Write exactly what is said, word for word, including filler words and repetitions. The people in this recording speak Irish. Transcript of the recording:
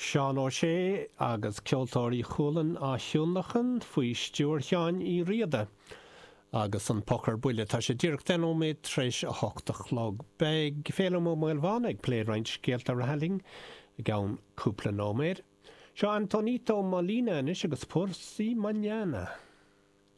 Seán Ó Sé agus Ceoltóirí Chualann á thionlacan faoi stiúir Sheáin Uí Riada. Agus an poc ar buile tá sé díreach deich nóiméad tar éis a hocht a chlog. Beidh Féilim Ó Maolmhána ag plé roinnt scéalta reatha linn i gceann cúpla nóiméad. Seo Antonito Molina anois agus Por si Mañana.